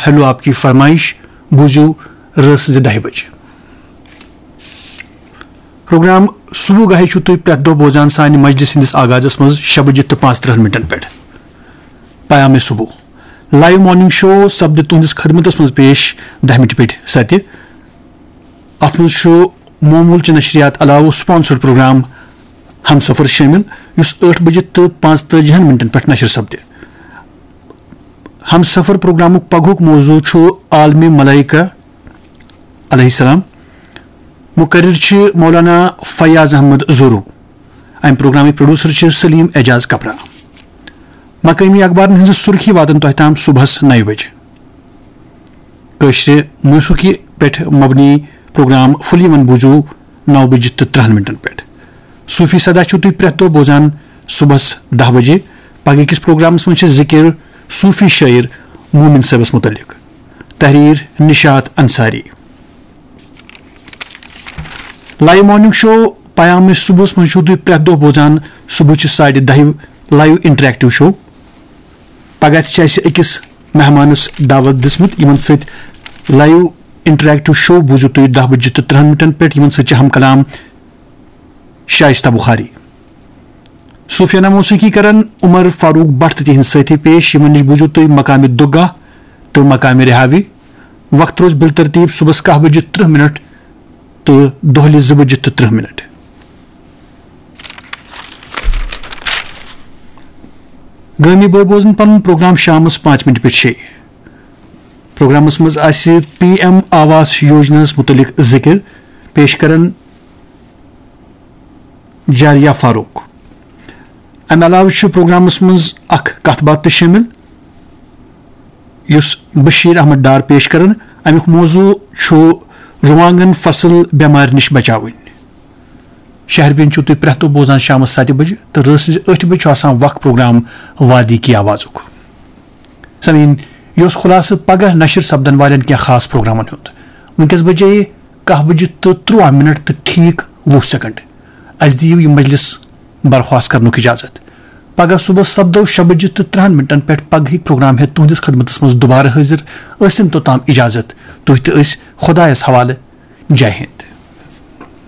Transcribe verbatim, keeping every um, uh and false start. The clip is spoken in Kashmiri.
ہیلو آپ کی فرمائش بوٗزِو رٲژ زِ دَہہِ بجہِ۔ پروگرام صبح گاہے چھِو تُہۍ پرٛٮ۪تھ دۄہ بوزان سانہِ مجلس ہٕنٛدِس آغازس منٛز شےٚ بجہِ تہٕ پانٛژترٕٛہن منٹن پٮ۪ٹھ۔ پیام صبح لائیو مارننگ شو سپدِ تُہنٛدِس خدمتس منٛز پیش دَہہِ مِنٹہِ پٮ۪ٹھ ستہِ۔ اتھ منٛز چھُ معمول چہِ نشریات علاوٕ سپانسرڈ پروگرام ہمسفر شٲمِل، یُس ٲٹھ بجہِ تہٕ پانٛژتٲجِہن منٹن پٮ۪ٹھ نشر سپدِ۔ ہمسفر پروگرامُک پگہُک موضوع چھُ عالمی ملائکہ علیہ السلام۔ مقرر چھِ مولانا فیاض احمد زورو۔ امہِ پروگرامٕکۍ پروڈیوسر چھِ سلیم اعجاز کپرا۔ مقٲمی اخبارن ہٕنٛزٕ سُرخی واتن تۄہہِ تام صبحس نَیہِ بجہِ۔ کٲشرِ موسیقی پٮ۪ٹھ مبنی پروگرام فُلی ون بوٗزِو نَو بجہِ تہٕ ترٕٛہن منٹن پٮ۪ٹھ۔ صوفی صدا چھِو تُہۍ پرٛٮ۪تھ دۄہ بوزان صبحس دَہ بجے۔ پگہٕکِس پروگرامس منٛز چھِ ذِکِر صوفی شٲعر مومن صٲبس مُتعلق۔ تحریر نشاط انصاری۔ لائیو مارننگ شو پیام صبحس منٛز چھِو تُہۍ پرٛٮ۪تھ دۄہ بوزان صبحٕچہِ ساڑِ دَہہِ لائیو انٹریکٹو شو۔ پگاہ تہِ چھِ اَسہِ أکِس مہمانس دعوت دِژمٕژ، یِمن سۭتۍ لائیو انٹریکٹو شو بوٗزِو تُہۍ دَہ بجہِ تہٕ ترٕٛہن منٹن پٮ۪ٹھ، یِمن سۭتۍ چھِ ہم کلام شائستہ بخاری۔ صوفیانہ موسیقی کرن عمر فاروق بٹ تہٕ تِہنٛدۍ سٲتھی پیش، یِمن نِش بوٗزِو تُہۍ مقامِ دُگاہ تہٕ مقامِ رہاوی۔ وقت روزِ بالترتیب صبحس کاہ بجہِ ترٕٛہ منٹ تہٕ دۄہلہِ زٕ بجہِ تہٕ ترٕٛہ منٹ۔ گٲمی بٲے بوزن پنُن پروگرام شامس پانٛژِ منٹہِ پٮ۪ٹھ شےٚ۔ پروگرامس منٛز آسہِ پی ایم آواس یوجناہس مُتعلق ذِکِر، پیش کرن جاریہ فاروق۔ امہِ علاوٕ چھُ پروگرامس منٛز اکھ کتھ باتھ تہِ شٲمِل، یُس بشیر احمد ڈار پیش کرن۔ امیُک موضوع چھُ رُوانگن فصل بٮ۪مارِ نِش بچاوٕنۍ۔ شہربین چھِو تُہۍ پرٛٮ۪تھ دۄہ بوزان شامس ستہِ بجہِ تہٕ رٲژ سٕنٛزِ ٲٹھِ بجہِ چھُ آسان وقت پروگرام وادی کی آوازُک۔ سامعین، یہِ اوس خلاصہٕ پگاہ نشر سپدن والٮ۪ن کینٛہہ خاص پروگرامن ہُنٛد۔ وٕنکیٚس بجے کاہ بجہِ تہٕ ترُٛواہ منٹ تہٕ ٹھیٖک وُہ سیکنڈ۔ اسہِ دِیِو یہِ مجلس برخواست کرنُک اجازت۔ پگاہ صبحس سپدو شےٚ بجہِ تہٕ ترٕٛہن منٹن پٮ۪ٹھ پگہٕکۍ پروگرام ہیتھ تُہنٛدِس خدمتس منٛز دوبارٕ حٲضِر۔ ٲسِن توٚتام اجازت۔ تُہۍ تہٕ أسۍ خدایس حوالہٕ۔ جے ہند۔